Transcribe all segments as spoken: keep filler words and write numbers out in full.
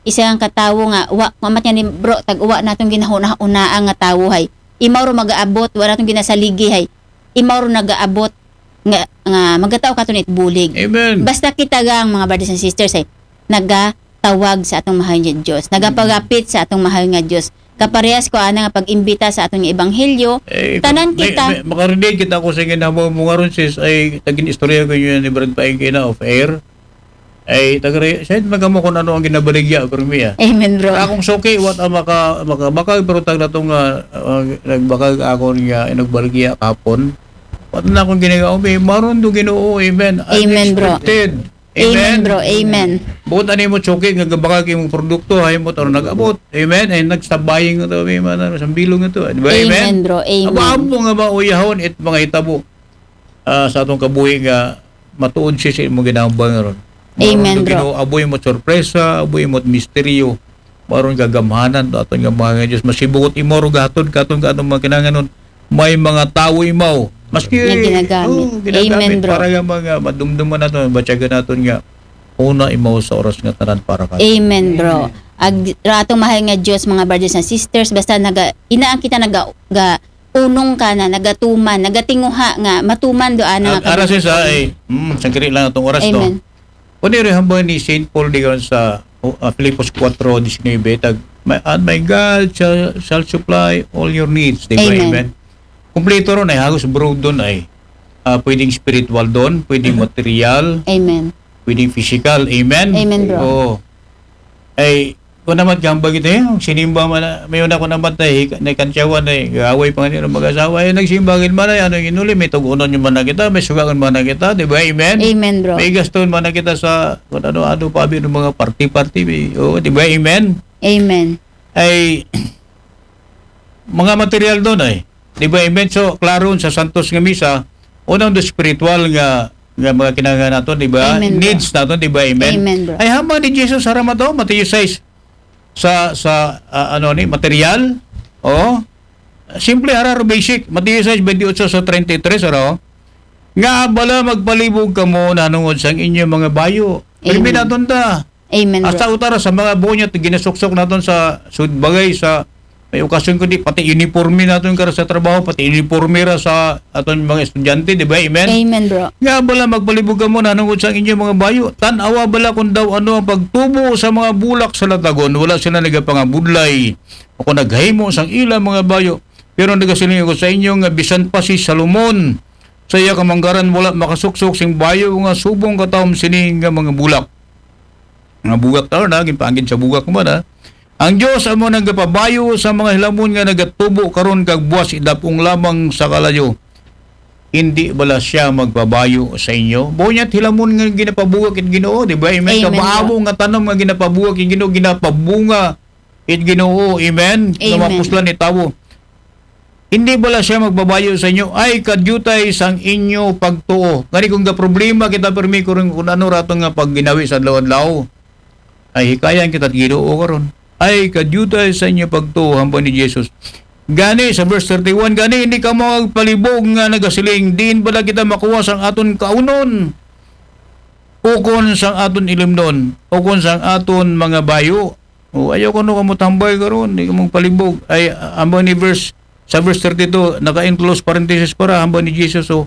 isang katawo nga, wa, mamat nga ni bro, tag-uwa natong ginahuna-hunaan nga tawo hay. Imaw ro magaabot, wa natong ginasaligi hay. Imaw ro nagaabot nga, nga magataw kato nit bulig. Amen. Basta kita gang, mga brothers and sisters, ay nagatawag sa atong mahal nga Dios, nagapagapit sa atong mahal nga Dios. Kaparehas ko ana nga pag-imbita sa atong ebanghelyo, eh, tanan may, kita. May, makarelate kita ko sa ginhamo mo nga ron, sis, ay tagin istorya ko yun ni Brad Paing kina off air. Ay, tagare, siya, magamo kung ano ang ginabaligya, pero miya. Amen, bro. Akong suki, what ang maka, makabakag, pero tag na tong, ah, ah, nagbakag ako niya, ay nagbaligya kapon. What na akong ginagawa, may maroon do Ginoo, amen. Amen, bro. Unexpected. Amen, bro. Amen. Buot ani mo suki nga gabakag imong produkto, ay mo taro nag-abot. Amen. Ay nagsabaying nga to, may man sa bilog nga to. Di ba? Amen, bro. Amen. Aba, ampo nga mauyahon it mga hitabo, ah, sa atong kabuhi nga matuod siya sa imong ginambal nga ron. Amen, bro. Ginoo, aboy mo sorpresa, aboy mo misteryo. Maron gagamhanan to aton nga mga Dios. Masibugot imo ro gahatod katon ka atong mga kinanganon. May mga tawo imaw. Maski nga ginagamit. Oh, ginagamit. Amen, bro. Para nga mga madumduman naton, batyagan naton nga una imaw sa oras nga tanan para ka. Amen, bro. Ag, ra atong mahal nga Dios, mga brothers and sisters, basta naga, inaan kita naga, ga, unong ka na, nagatuman, nagatinguha nga matuman do ana nga. Ara siya sa ay, mm, sangkiri lang atong oras to. Amen. Kundi rin hambal ni Saint Paul di sa, uh, Filipos four diecinuebe, tag, "My, and my God shall, shall supply all your needs." Di ba? Amen. Amen. Kompleto ron ay, halos broad doon ay, ah, pwedeng spiritual doon, pwedeng material, amen, pwedeng physical. Amen? Amen, bro. Oo. Ay, kung naman gambag ito, eh, sinimba man na, may una ko naman tayo, hika-, na kantyawan, eh, away pa nga nila mag-asawa, eh, nagsimba gid man ay, ano, inuli, may tugunon nyo man na kita, may sugangon man na kita, di ba? Amen? Amen, bro. May gaston man na kita sa, kung ano, ano pa, abi ng mga party-party, may, oo, di ba? Amen? Amen. Ay, mga material doon ay, di ba? Amen? So, klaro sa Santos nga Misa, unang do spiritual nga, nga mga kinahanglan nato, di ba? Amen, bro. Needs nato, di ba? Amen? Amen, bro. Ay, hama ni Jesus, harap ato, Mateo six, sa, sa, ah, ano ni, material. Oh. Simple, hara ro basic. Mateo six, twenty-eight sa thirty-three, ano? Nga bala magpalibog kamo nanungod sang inyo mga bayo. Amen. Pirmi naton ta. Amen, bro. Hasta utara sa mga bunyat, ginasuksok naton sa sud-, bagay sa may okasyon kundi pati uniforme naton kara sa trabaho, pati uniforme ra sa aton mga estudyante, di ba? Amen? Amen, bro. Nga bala magpalibog kamo nanungod sa inyo mga bayo. Tan-awa bala kung daw ano ang pagtubo sa mga bulak sa latagon. Wala sila nagapangabudlay o kung naghimo sang ila mga bayo. Pero nagasiling ako sa inyo nga bisan pa si Salomon sa iya kamanggaran wala makasuksok sing bayo nga subong katawom sini nga mga bulak. Nga bugak tawon na, ginpangin sa bugak mo na. Ang Dios amo nang gapabayo sa mga hilamon nga nagatubo karon kag buwas idapong lamang sa kalayo. Hindi bala siya magpabayo sa inyo? Bunyat hilamon nga ginapabugak it Ginoo, di ba? Amen. Amen, bro. Kabaabo nga tanom nga ginapabugak it Ginoo, ginapabunga it Ginoo. Amen. Amen. Nga mapuslan ni tawo. Hindi bala siya magbabayo sa inyo? Ay, kadyutay sang inyo pagtuo. Gani kung gaproblema kita, permi, kung, kung ano rato nga pagginawi sa adlaw-adlaw, ay hikayan kita Ginoo karon. Ay, kadyutay sa inyo pagtuo, hambal ni Jesus. Gani, sa verse thirty-one, gani, hindi ka magpalibog nga nagasiling, diin bala kita makuha sang aton kaunon, ukon sang aton ilimnon, ukon sang aton mga bayo. O, ayaw ko no kamo tambay karon, di ka magpalibog. Ay, ambang ni verse, sa verse thirty-two, naka-enclose parenthesis para, ambang ni Jesus, o,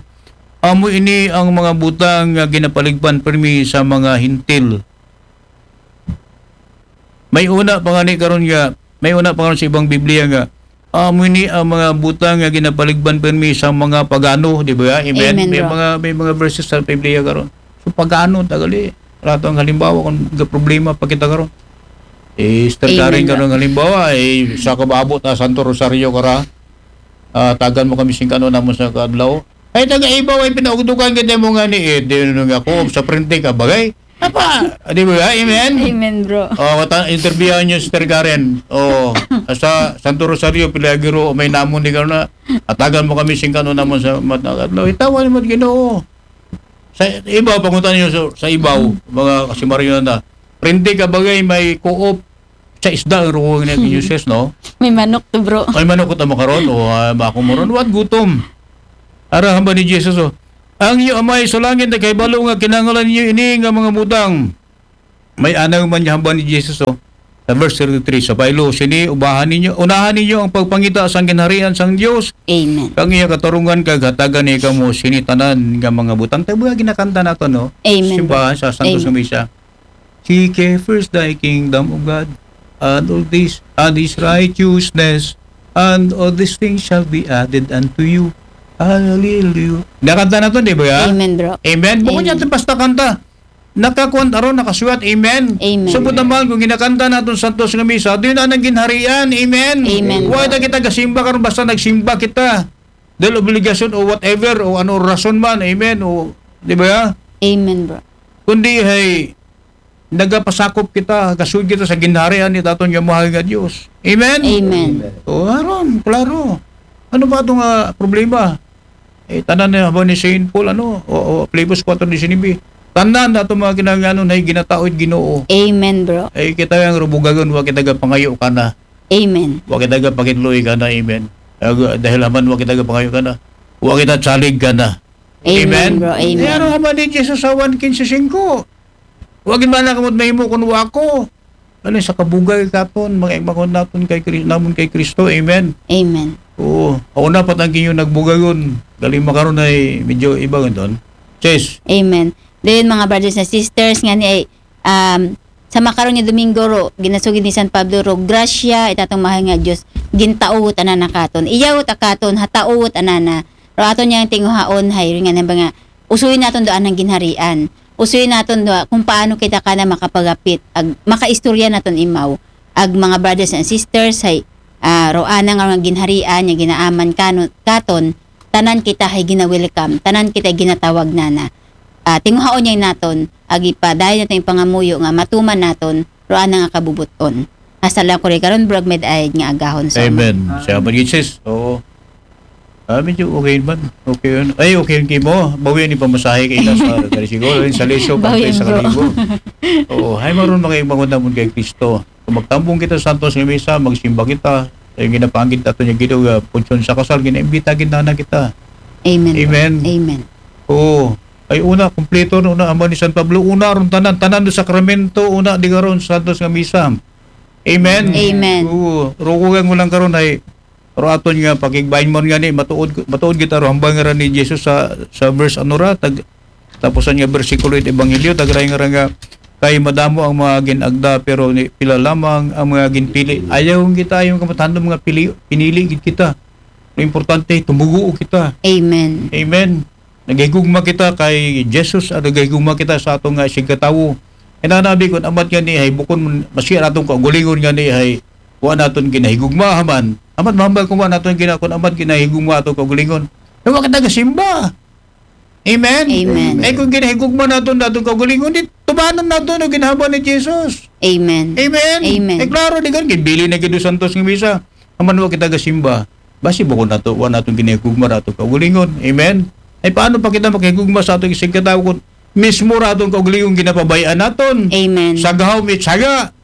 amo ini ang mga butang nga ginapaligban permi sa mga Hentil. May una pa nga ni karon nga, may una pa karon sa ibang Biblia nga, amo ini ang mga butang nga ginapaligban permi sa mga pagano, di ba? Amen? Amen, bro. May mga, may mga verses sa Biblia karon. So, pagano, tagali. Rato ang halimbawa, kung problema pa kita karon. Eh, Sister Karen, karon halimbawa, eh, sa kabaabot, ah, Santo Rosario kara, ah, tagan mo kami sing kano namon sa kadlaw. Ay, taga ibaw, ay pinaugdukan kita mo nga ni, eh, di nun nga ako, sa printe ka, bagay. Apa, di ba? Amen? Amen, bro. Oh, ta-, interviewan niyo, Sister Karen. Oh, sa Santo Rosario, Pilagiro, may namon di ka na. Atagan mo kami sing kano namon sa mata kadlaw. Itawan mo, Ginoo. Sa ibaw, pangutan niyo sa, sa ibaw, mga kasimaryo na. Printe ka bagay, may co-op sa isda, ang ruwang na yung uses, no? May manok to, bro. May manok ko tamo karon, o, ah, bako mo ron. What gutom? Ara hamba ni Jesus, oh. Ang iyo amay sa langit na kahibalo nga kinangalan niyo ini nga mga butang. May anaw man niya hamba ni Jesus, oh. Sa verse thirty-three, sa baylo sini, ubahan ninyo, unahan ninyo ang pagpangita sang ginharian sang Dios, Amen. Kang iya katarungan kag hatagan niya kamo sini tanan nga mga butang. Tabi ginakanta nato, no? Amen, Simbahan bro. Sa Santos Amen. Nga Misa. Seek ye first thy kingdom, O God, and all this, and his righteousness, and all these things shall be added unto you. Hallelujah. Nakanta nato, di ba? Amen, bro. Amen. Bukod Amen. Niya, basta kanta. Nakakuan aron nakasuwat. Amen. Amen. So, buta mahal, kung ginakanta naton Santos nga Misa, doon na nang ginharian. Amen. Amen. Why na kita gasimba karon basta nagsimba kita? Dahil obligasyon o whatever, o ano rason man. Amen. O, di ba? Amen, bro. Kundi, hey, nagapasakop kita, kasud kita sa ginharian ni taton nga mahal nga Dios. Amen? Amen. O, aron, klaro. Ano ba itong ah, problema? Eh, tanan na ba ni Saint Paul, ano? O, o Filipos four nineteen. Tanan na itong mga kinahanglanon ay ginatao'd Ginoo. Amen, bro. Ay, kita yung rubugagon, wa kita gapangayo ka na. Amen. Wa kita gapakitloy ka na, amen. Ag- Dahil haman wa kita gapangayo ka na. Wa kita tsalig ka na. Amen, Amen? Bro. Amen. Pero haman ni Jesus sa one quince cinco. Wa gid man na kamot mahimo kun wa ko. Ano sa kabugay katon, mga imangon naton kay Kri- namon kay Kristo. Amen. Amen. Oo. Una pa tang kinyo nagbugayon. Galing makaron ay medyo iba nga doon. Sis. Amen. Then, mga brothers and sisters, nga ni ay, um, sa makaron nga Domingo ro, ginasugid ni San Pablo ro, grasya, itatong mahal nga Diyos, gintao tanan na katon. Iyaw ta katon, hatao tanan na. Ro aton niyang tinguhaon, hay, nga nang mga, usuin naton doon ang ginharian. Usuin naton doon kung paano kita kana makapagapit, ag, makaistorya naton imaw. Ag mga brothers and sisters, hay, ah, roana nga mga ginharian, nga ginaaman kanon, katon, tanan kita hay gina-welcome, tanan kita ginatawag nana. Ah, tinguhaon niya naton, ag ipadayon naton yung pangamuyo nga matuman naton, roana nga kabubuton. Hasta lang ko rin karon, bro, ag may daayad nga agahon sa Amen. Amen. Siya ba, Jesus? Oo. Ah, medyo okay man. Okay yun. Ay, okay yun, Kimo. Bawi ni pamasahe kayo na sa Carisigol. Ay, sa Leso, Bawi pantay sa bro. Kalibo. Oo. Ay, maroon mga ibang namon kay Kristo. Kung magtambong kita sa Santos nga Misa, magsimba kita. Ay, ginapanggit nato niya Ginoo, ah, punsyon sa kasal, ginaimbita gid na kita. Amen. Amen. Amen. Oo. Ay, una, kumpleto na una, amo ni San Pablo, una, ron tanan, tanan do sakramento, una, di karon, Santos nga Misa. Amen. Amen. Oo. Rukugan mo lang karon ay, ro aton nga, pakigbain mo nga ni, matuod, matuod kita ro, hambal nga rin ni Jesus sa, sa verse ano ra, tag, tapusan nga bersikulo it Ebanghelyo, tagray nga ra nga, kay madamo ang mga ginagda, pero ni, pila lamang ang mga ginpili. Ayaw kita, ayaw kamatahan ng mga pili, pinili gid kita. Ang importante, tumuguo kita. Amen. Amen. Nagahigugma kita kay Jesus, at nagahigugma kita sa atong nga isigkatawo. Inanabi kun amat nga ni hay bukon man, masiya naton kaugalingon nga ni hay wa naton ginahigugma haman. Amat mahambal kun wa naton gina-, kun amat ginahigugma atong kaugalingon. Kay wa kita gasimba. Amen? Amen. Ay kung ginahigugma naton, naton kaugalingon, di tubanan naton o ginahambal ni Jesus. Amen. Amen? Amen. Ay klaro, di kan, ginbili na gid santos nga misa. Aman wa kita gasimba. Basi bukon nato, wa naton ginahigugma ra atong kaugalingon. Amen? Ay paano pa kita makahigugma sa atong isigkatawo kun mismo ra atong kaugalingon ginapabayaan naton? Amen. Sa gahom it saga.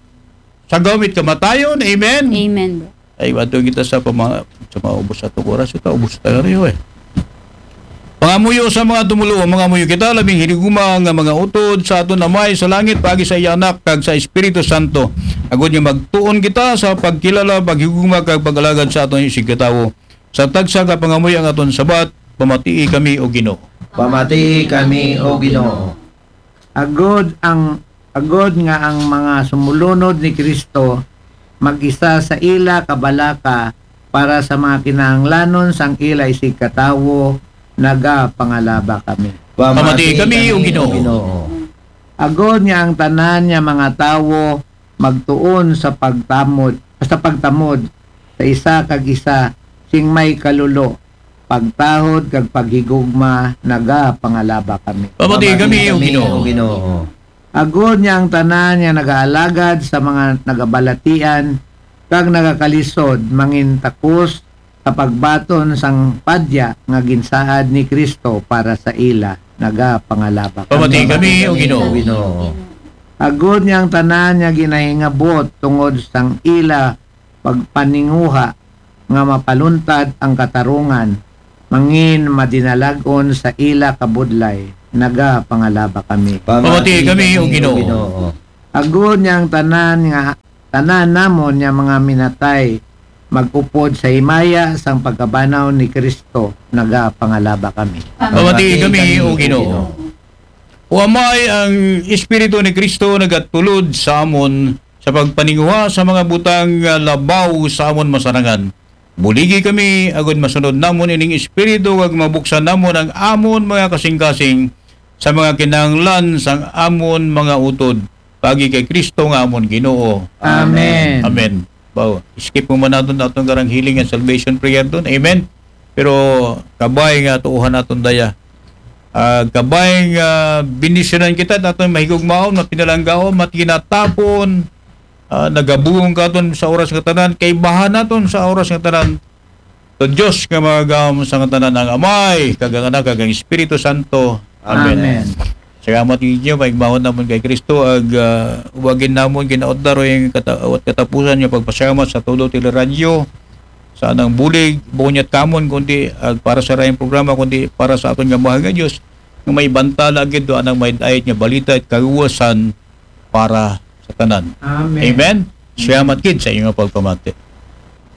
Sa gahom it kamatayon. Amen? Amen, bro. Ay, wato kita sa pama-, sa mga ubos sa atong oras. Ito, ubos tayo rin, eh. Pangamuyo sa mga tumuluo, mangamuyo kita, labing hinigugma nga mga utod sa aton Amay sa langit, paagi sa iya Anak, kag sa Espiritu Santo. Agod nga magtuon kita sa pagkilala, paghigugma, kag pag-alagad sa aton isigkatawo. Sa tagsa ka pangamuyo ang aton sabat, pamatii kami, O Ginoo. Pamatii kami, O Ginoo. Agod ang, agod nga ang mga sumulunod ni Kristo mag-isa sa ila kabalaka para sa mga kinahanglanon sang ila isigkatawo, nagapangalaba kami. Pamatii kami, O Ginoo. Agod nga ang tanan nga mga tawo magtuon sa pagtamod, sa pagtamod sa isa kag isa, sing may kalulo, pagtahod kag paghigugma, nagapangalaba kami. Pamatii kami, O Ginoo. Agod nga ang tanan nga nagaalagad sa mga nagabalatian kag nagakalisod mangin takos sa pagbaton sang padya nga ginsaad ni Kristo para sa ila, nagapangalaba kami. Pamatii kami, O Ginoo. Agod nga ang tanan nga ginahingabot tungod sang ila pagpaninguha nga mapaluntad ang katarungan, mangin madinalag-on sa ila kabudlay, nagapangalaba kami. Pamatii kami, O Ginoo. Agod nga ang tanan nga tanan namon nga mga minatay, mag-upod sa himaya sang pagkabanaw ni Kristo, nagapangalaba kami. Pamati kami, O Ginoo. O Amay, ang Espiritu ni Kristo nagatulod sa amon sa pagpaninguha sa mga butang nga labaw sa amon masarangan. Buligi kami agud masunod namon ining Espiritu, kag mabuksan namon ang amon mga kasingkasing sa mga kinahanglan sang amon mga utod. Pagi kay Kristo nga amon Ginoo. Amen. Amen. Baw, skip mo man naton atong karang healing and salvation prayer doon. Amen. Pero kabay nga tuuhan naton daya. Ah, kabay nga bendisyonan kita, aton mahigugmaon, mapinalanggaon, matginatapon, ah, nagabungong katon sa oras nga tanan, kaibahan naton sa oras nga tanan. To Diyos nga magagam sa nga tanan, ang Amay, kag ang Anak, kag ang Espiritu Santo. Amen. Amen. Salamat ninyo, maigmahon namon kay Kristo, ag ah, uwagin namon ginaot daroy ang kata- awat katapusan nga pagpasalamat sa todo teleradyo, sa anang bulig, bunyat kamon, kundi ag para sa rayong programa, kundi para sa aton nga mahal nga Diyos, nga may bantala gid do anang may dayat nga balita at kaluwasan para sa tanan. Amen. Amen. Salamat gid sa inyong pagpamati.